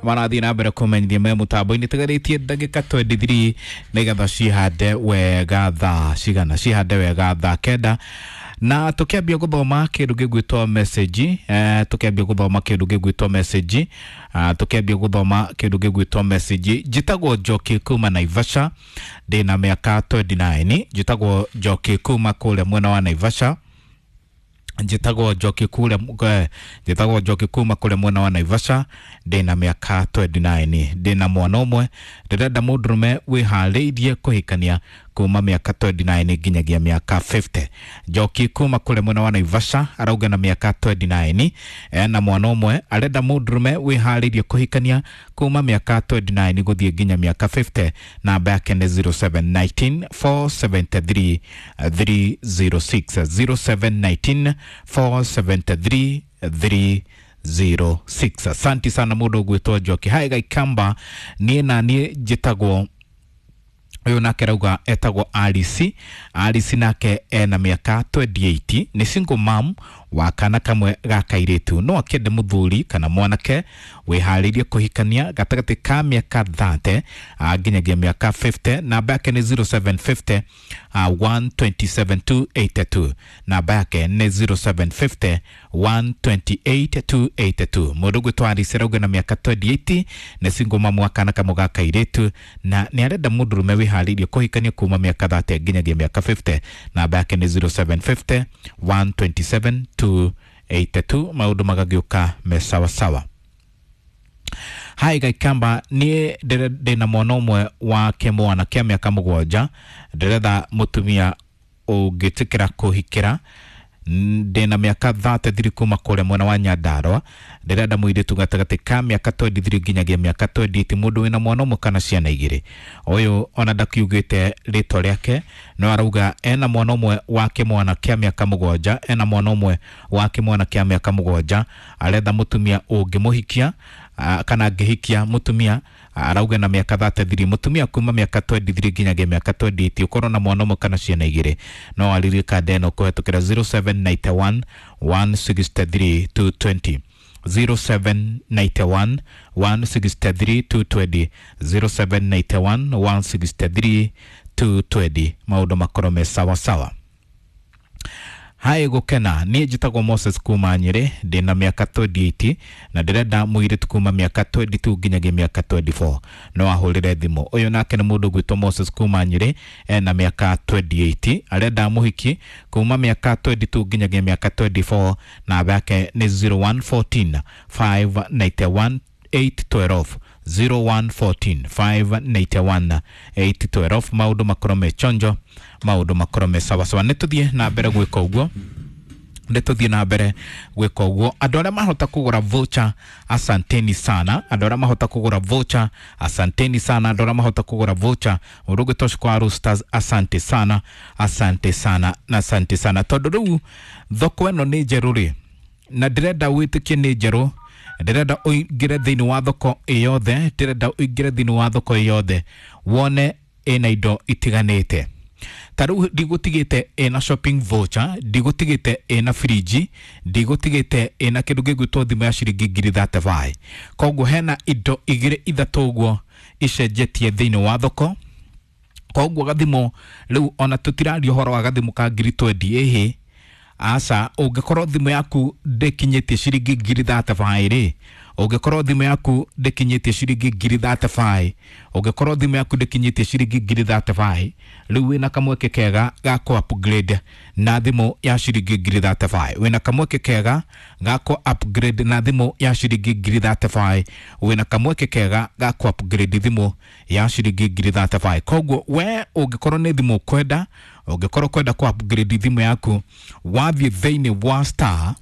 Marathiĩ na mbere kũmenyithia me mũtambo-inĩ. Tigarĩtie ndagĩka 23 nĩgetha cihande wega thaa cigana, cihande wega thaa 9, na tukiambia guthoma kindu gigwitwo message, tukiambia guthoma kindu gigwitwo message, tukiambia guthoma kindu gigwitwo message. Njitagwo Njoki kuma Naivasha, ndina miaka 29. Njitagwo Njoki kuma kuria mwena wa Naivasha. Njitagwo Njoki kuria, njitagwo Njoki kuma kuria mwena wa Naivasha, ndina miaka 29, ndina mwana ũmwe. Ndĩrenda mũndũrũme wĩharĩirie kũhikania kuma mĩaka 29 nginyagia mĩaka 50. Njoki kuma kũrĩa mwena wa Naivasha arauga na mĩaka 29, ena mwana ũmwe, arenda mũndũrũme wĩharĩirie kũhikania kuma mĩaka 29 gũthiĩ nginya mĩaka 50. Namba yake nĩ 0719 473 306, 0719 473 306. Asanti sana mũndũ ũgwĩtwo Njoki. Hai Gaikamba, niĩ na niĩ njĩtagwo ũyũ, nake rauga etagwo Alice. Alice nake ena mĩaka 28, nĩ single mom wa kana kamwe ga kairĩtu. No akĩende mũthuri kana mwanake wĩharĩirie kũhikania gatagatĩ ka mĩaka 30 nginyagia mĩaka 50. Namba yake nĩ 0750 127 282. Namba yake nĩ 0750 128 282. Mũndũ ũgwĩtwo Alice arauga na mĩaka 28, nĩ single mom wa kana kamwe ga kairĩtu, na nĩ arenda mũndũrũme wĩharĩirie kũhikania kuma mĩaka 30 nginyagia mĩaka 50. Namba yake nĩ 0750 127 282. Maũndũ magagĩũka me sawasawa. Hai Gaikamba, niĩ ndĩna mwana ũmwe wa kĩmwana kĩa mĩaka 7, ndĩretha mũtumia ũngĩtĩkĩra kũhikĩra. Ndĩna mĩaka 33 kuma kũrĩa mwena wa Nyandarua, ndĩrenda mũirĩtu gatagatĩ ka mĩaka 23 nginyagia mĩaka 28, mũndũ wĩna mwana ũmwe kana ciana igĩrĩ. Ũyũ ona ndakiugĩte rĩtwa rĩake, no arauga ena mwana ũmwe wa kĩmwana kĩa mĩaka 7, ena mwana ũmwe wa kĩmwana kĩa mĩaka 7, aretha mũtumia ũngĩmũhikia kana angĩhikia mũtumia. Arauga na mĩaka 33, mũtumia kuma mĩaka 23 nginyagia mĩaka 28, ũkorwo na mwana ũmwe kana ciana igĩrĩ. No arĩrie kanda ĩno kũhetũkĩra 0791 163 220, 0791 163 220, 0791 163 220. Maũndũ makorwo me sawa sawa. Hai Gukena, niĩ njĩtagwo Moses kuma Nyĩrĩ, ndĩna mĩaka 28 na ndĩrenda mũirĩtu kuma mĩaka 22 nginyagia mĩaka 24. No ahũrĩre thimũ. Ũyũ nake nĩ mũndũ ũgwĩtwo Moses kuma Nyĩrĩ, ena mĩaka 28, arenda mũhiki kuma mĩaka 22 nginyagia mĩaka 24. Namba yake nĩ 0114 591 812, 0114 591 812. Maũndũ makorwo me chonjo, maũndũ makorwo me sawasawa. Nĩ tũthiĩ na mbere gwĩka ũguo, nĩ tũthiĩ na mbere gwĩka ũguo. Andũ arĩa mahota kũgũra voucher, asanteni sana. Andũ arĩa mahota kũgũra voucher, asanteni sana. Andũ arĩa mahota kũgũra voucher, mũndũ ũgwĩtwo Shukwaru Stars, asante sana, asante sana na asante sana, tondũ rĩu thoko ĩno nĩ njerũ rĩ, na ndĩrenda wĩtĩkie nĩ njerũ. Ndĩrenda ũingĩre thĩinĩ wa thoko ĩyothe, ndĩrenda ũingĩre thĩinĩ wa thoko ĩyothe wone ĩna indo itiganĩte. Ta rĩu ndigũtigĩte ĩna shopping voucher, ndigũtigĩte ĩna firiji, ndigũtigĩte ĩna kĩndũ gĩgwĩtwo thimũ ya ciringi ngiri 35. Koguo hena indo igĩrĩ ithatũ ũguo icenjetie thĩinĩ wa thoko. Koguo gathimũ rĩu ona tũtiraria ũhoro wa gathimũ ka ngiri 20, ĩhĩ aca. Ũngĩkorwo thimũ yaku ndĩkinyĩtie ciringi ngiri 35 rĩ, ũngĩkorwo thimũ yaku ndĩkinyĩtie ciringi ngiri 35, ũngĩkorwo thimũ yaku ndĩkinyĩtie ciringi ngiri 35, rĩu wĩna kamweke kega ga kũ upgrade na thimũ ya ciringi ngiri 35. Wĩna kamweke kega ga kũ upgrade na thimũ ya ciringi ngiri 35. Wĩna kamweke kega ga kũ upgrade thimũ ya ciringi ngiri 35. Koguo we ũngĩkorwo nĩ thimũ ũkwenda, ũngĩkorwo kwenda kũ upgrade thimũ yaku, wathiĩ thĩinĩ wa star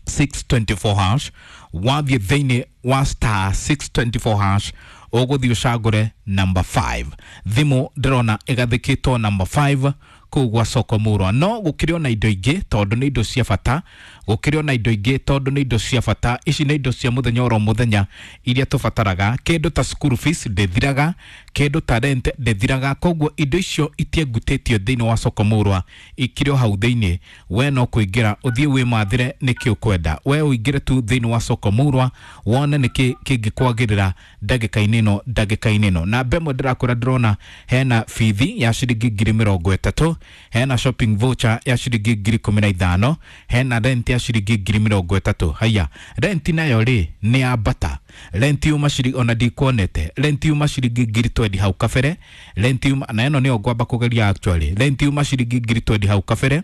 624 hash, wathiĩ thĩinĩ wa star 624 hash, ũgũthiĩ ũcagũre number 5. Thimũ ndĩrona ĩgathĩkĩtwo number 5 kũu gwa soko murwa. No gũkĩrĩ ona indo ingĩ, tondũ nĩ indo cia bata. Gũkĩrĩ ona indo ingĩ tondũ nĩ indo cia bata. Ici nĩ indo cia mũthenya oro mũthenya iria tũbataraga. Kĩndũ ta school fees ndĩthiraga, kĩndũ ta rent ndĩthiraga, koguo indo icio itiengutĩtio thĩinĩ wa soko mũrwa, ikĩrĩ o hau thĩinĩ. We no kũingĩra ũthiĩ wĩmathĩre nĩkĩ ũkwenda. We ũingĩre tu thĩinĩ wa soko mũrwa wone nĩkĩ kĩngĩkwagĩrĩra ndagĩka-inĩ ĩno, ndagĩka-inĩ ĩno. Namba ĩmwe ndĩrakwĩra ndĩrona hena bithi ya ciringi 30,000, hena shopping voucher ya ciringi 15,000, hena rent ya ciringi 30,000. Haya, rent nayo rĩ nĩ yambata. Rent yuma ciringi, ona ndikuonete rent yuma ciringi 20,000 hau kabere. Rent yuma, na ĩno nĩyo ngwamba kũgeria actually. Rent yuma ciringi 20,000 hau kabere,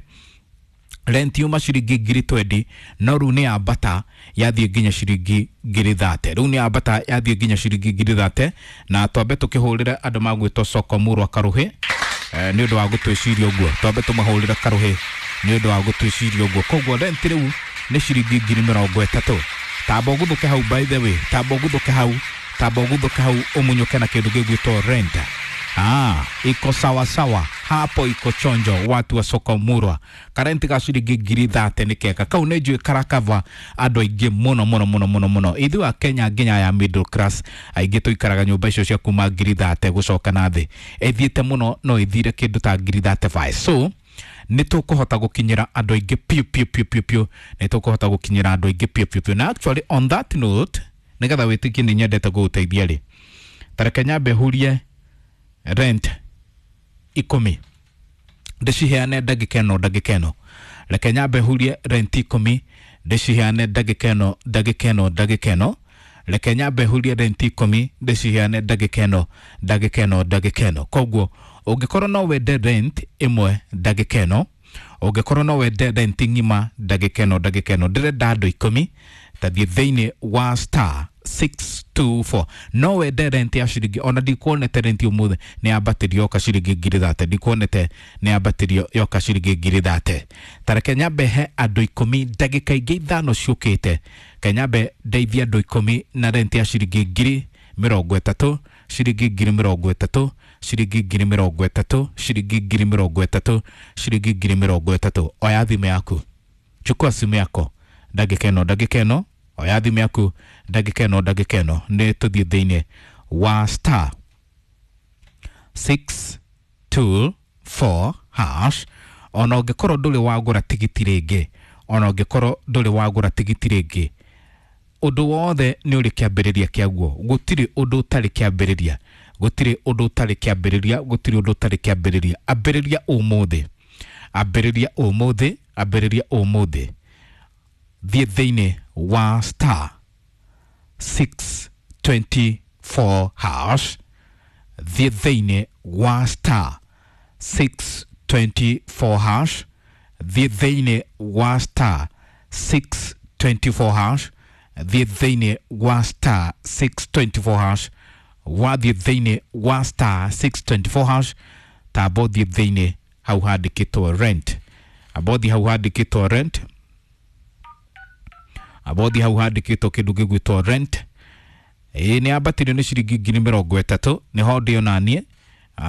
rent yuma ciringi 20,000, no rĩu nĩ yambata yathiĩ nginya ciringi 30,000. Rĩu nĩ yambata yathiĩ nginya ciringi 30,000. Na twambe tũkĩhũrĩre andũ magwĩtwo soko mũrwa karũhĩ nĩ ũndũ wa gũtwĩciria ũguo. Twambe tũmahũrĩre karũhĩ nĩ ũndũ wa gũtwĩciria ũguo. Koguo rent rĩu nĩ ciringi 30,000. Tamba ũguthũke hau, by the way, tamba ũguthũke hau, tamba ũguthũke hau ũmunyũke na kĩndũ gĩgwĩtwo rent. Ah, iko sawa sawa hapo, iko chonjo watu wa soko murwa. Karenti ga ciringi 30,000 nĩ kega kau, nĩ njũĩ karakava andũ aingĩ mũno mũno mũno mũno mũno. Ithuĩ a Kenya nginya ya middle class aingĩ tũikaraga nyũmba icio cia kuma 30,000 gũcoka na thĩ, ĩthiĩte mũno no ĩthire kĩndũ ta 35,000. So nĩ tũkũhota gũkinyĩra andũ aingĩ piũ piũ piũ piũ piũ, nĩ tũkũhota gũkinyĩra andũ aingĩ piũ piũ piũ. Na actually on that note, nĩgetha wĩtĩkie nĩ nyendete gũgũteithia rĩ, tareke nyambe hurie rent 10 ndĩciheane ndagĩka ĩno, ndagĩka ĩno. Reke nyambe hurie rent 10 ndĩciheane ndagĩka ĩno, ndagĩka ĩno, ndagĩka ĩno. Reke nyambe hurie rent 10 ndĩciheane ndagĩka ĩno, ndagĩka ĩno, ndagĩka ĩno. Koguo ũngĩkorwo no wende rent ĩmwe ndagĩka ĩno, ũngĩkorwo no wende rent ng'ima ndagĩka ĩno, ndagĩka ĩno, ndĩrenda andũ 10 tathiĩ thĩinĩ wa star 624. No wende rent ya ciringi, ona ndikuonete rent ũmũthĩ nĩ yambatĩrio yoka ciringi 30,000, ndikuonete nĩ yambatĩrio yoka ciringi 30,000. Tareke nyambe he andũ 10 ndagĩka ingĩ 5 ciũkĩte. Kenyambe ndeithie andũ 10 na rent ya ciringi 30,000, ciringi 30,000, ciringi 30,000, ciringi 30,000, ciringi 30,000. Oya thimũ yaku, chukua simu yako ndagĩka ĩno, ndagĩka ĩno. Oya thimũ yaku ndagĩka ĩno, ndagĩka ĩno. Nĩ tũthiĩ thĩinĩ wa star 624 hash. Ona ũngĩkorwo ndũrĩ wagũra tigiti rĩngĩ, ona ũngĩkorwo ndũrĩ wagũra tigiti rĩngĩ, ũndũ wothe nĩ ũrĩ kĩambĩrĩria kĩaguo. Gũtirĩ ũndũ ũtarĩ kĩambĩrĩria, gũtirĩ ũndũ ũtarĩ kĩambĩrĩria, gũtirĩ ũndũ ũtarĩ kĩambĩrĩria. Ambĩrĩria ũmũthĩ, ambĩrĩria ũmũthĩ, ambĩrĩria ũmũthĩ. Thiĩ thĩinĩ wa star 624 hash, thiĩ thĩinĩ wa star 624 hash, thiĩ thĩinĩ wa star 624 hash, thiĩ thĩinĩ wa star 624 hash. Wathiĩ thĩinĩ wa star 624 hash, tamba ũthiĩ thĩinĩ hau handĩkĩtwo rent, amba ũthiĩ hau handĩkĩtwo rent, amba ũthiĩ hau handĩkĩtwo kĩndũ gĩgwĩtwo rent. Ĩĩ nĩ yambatĩrio nĩ ciringi 30,000, nĩho ndĩ onaniĩ.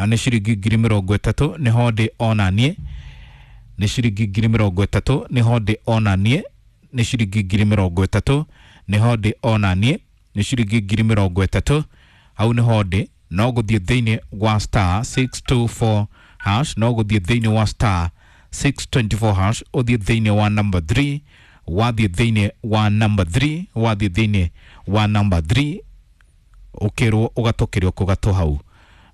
Nĩ ciringi 30,000, nĩho ndĩ onaniĩ. Nĩ ciringi 30,000, nĩho ndĩ onaniĩ. Nĩ ciringi 30,000, nĩho ndĩ onaniĩ. Nĩ ciringi 30,000, hau nĩho ndĩ. No gũthiĩ thĩinĩ wa star 624 hash, no gũthiĩ thĩinĩ wa star 624 hash, ũthiĩ thĩinĩ wa number 3, wathiĩ thĩinĩ wa number 3, wathiĩ thĩinĩ wa number 3, ũkĩrwo ũgatũkĩrio kũgatũ hau.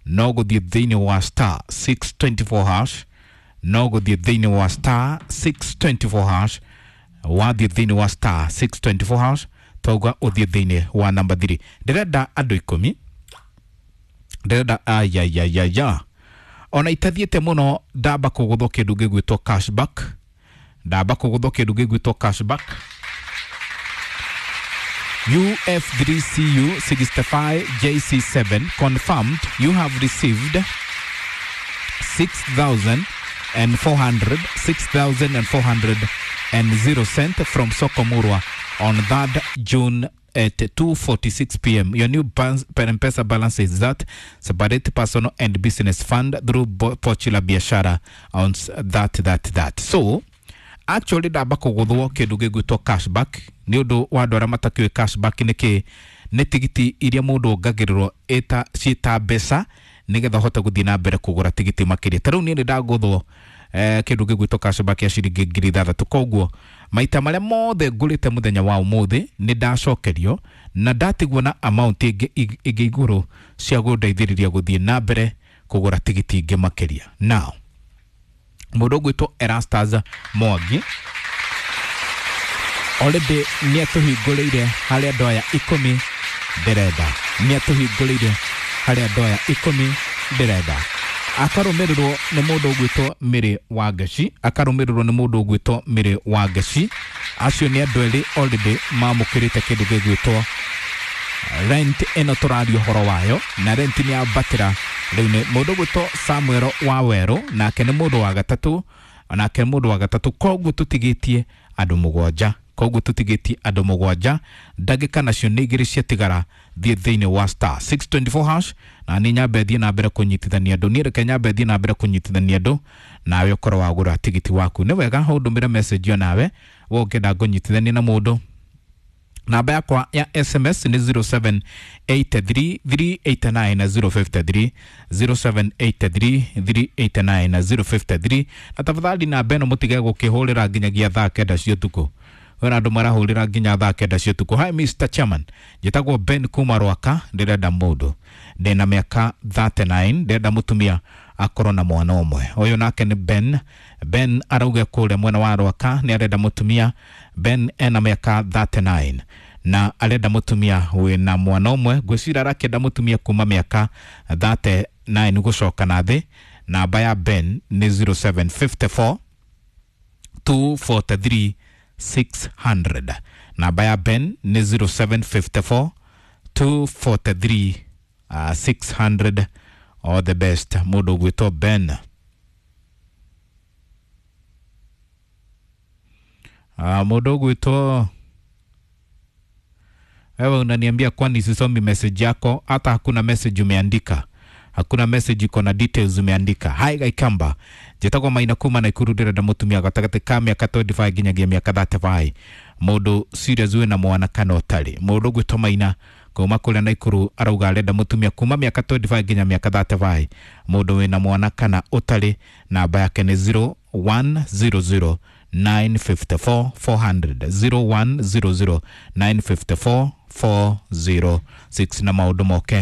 No gũthiĩ thĩinĩ wa star 624 hash, no gũthiĩ thĩinĩ wa star 624 hash, wathiĩ thĩinĩ wa star 624 hash, twauga ũthiĩ thĩinĩ wa number 3. Ndĩrenda andũ 10, ndĩrenda ayayayaya, ona itathiĩte mũno ndamba kũgũthwo kĩndũ gĩgwĩtwo cashback, ndamba kũgũthwo kĩndũ gĩgwĩtwo cashback. UF3CU 65 JC7 confirmed you have received 6,400, 6,400 and 0 cent from Sokomurwa on 3rd June at 2:46 p.m. Your new M-Pesa balance is that separate personal and business fund through Pochi la Biashara on that. So Actually ndamba kũgũthwo kĩndũ gĩgwĩtwo cashback nĩ ũndũ wa andũ arĩa matakĩũĩ cashback nĩ kĩ, nĩ tigiti iria mũndũ ongagĩrĩrwo ĩta ciĩta mbeca nĩgetha ũhote gũthiĩ na mbere kũgũra tigiti makĩria. Ta rĩu niĩ nĩ ndagũthwo kĩndũ gĩgwĩtwo cashback ya ciringi 6,000. Koguo maita marĩa mothe ngũrĩte mũthenya wa ũmũthĩ nĩ ndacokerio na ndatigwo na amount ĩngĩ igũrũ cia gũndeithĩrĩria gũthiĩ na mbere kũgũra tigiti ingĩ makĩria. Now mũndũ ũgwĩtwo Erastus Mwangi already nĩ atũhingũrĩire harĩ andũ aya 10 ndĩrenda, nĩ atũhingũrĩire harĩ andũ aya 10 ndĩrenda. Akarũmĩrĩrwo nĩ mũndũ ũgwĩtwo Mary Wangeci, akarũmĩrĩrwo nĩ mũndũ ũgwĩtwo Mary Wangeci. Acio nĩ andũ erĩ already mamũkĩrĩte kĩndũ gĩgwĩtwo rent ĩno tũraria ũhoro wayo, na rent nĩ yambatĩra rĩu. Nĩ mũndũ ũgwĩtwo Samuel Wawerũ, nake nĩ mũndũ wa gatatũ, nake mũndũ wa gatatũ. Koguo tũtigĩtie andũ 7, koguo tũtigĩtie andũ 7. Ndagĩka nacio nĩ 2 ciatigara. Thiĩ thĩinĩ wa star 624 hash na nĩ nyambe thiĩ na mbere kũnyitithania andũ. Niĩ reke nyambe thiĩ na mbere kũnyitithania andũ, nawe ũkorwo wagũra tigiti waku. Nĩ wega ũndũmĩre message o nawe we ũngĩenda ngũnyitithanie na mũndũ. Namba yakwa ya SMS nĩ 0783389053, 0783389053. Na tafadhali namba ĩno mũtige gũkĩhũrĩra nginyagia thaa 9 cia ũtukũ. Wena andũ marahũrĩra nginya thaa 9 cia ũtukũ. Hi Mr. Chairman, njĩtagwo Ben kuma Rwaka, ndĩrenda mũndũ, ndĩna mĩaka 39, ndĩrenda mũtumia akorwo na mwana ũmwe. Ũyũ nake nĩ Ben. Ben arauga kũrĩa mwena wa Rwaka nĩ arenda mũtumia. Ben ena mĩaka 39 na arenda mũtumia wĩna mwana ũmwe. Ngwĩciria arakĩenda mũtumia kuma mĩaka 39 gũcoka na thĩ. Namba ya Ben nĩ 0754 243 600. Namba ya Ben nĩ 0754 243 600. All the best mũndũ ũgwĩtwo Ben. Mũndũ ũgwĩtwo wewe unaniambia kwani sisomi message yako, hata hakuna message umeandika, hakuna message iko na details umeandika. Hi Gaikamba, njĩtagwo Maina kuma Naikuru, ndĩrenda mũtumia gatagatĩ ka mĩaka 25 nginyagia mĩaka 35, mũndũ serious wĩna mwana kana ũtarĩ. Mũndũ ũgwĩtwo Maina kuma kũrĩa Naikuru arauga arenda mũtumia kuma mĩaka 25 nginya mĩaka 35, mũndũ wĩna mwana kana ũtarĩ. Namba yake nĩ 0100 954 400, 0100 954 406. Na maũndũ moke.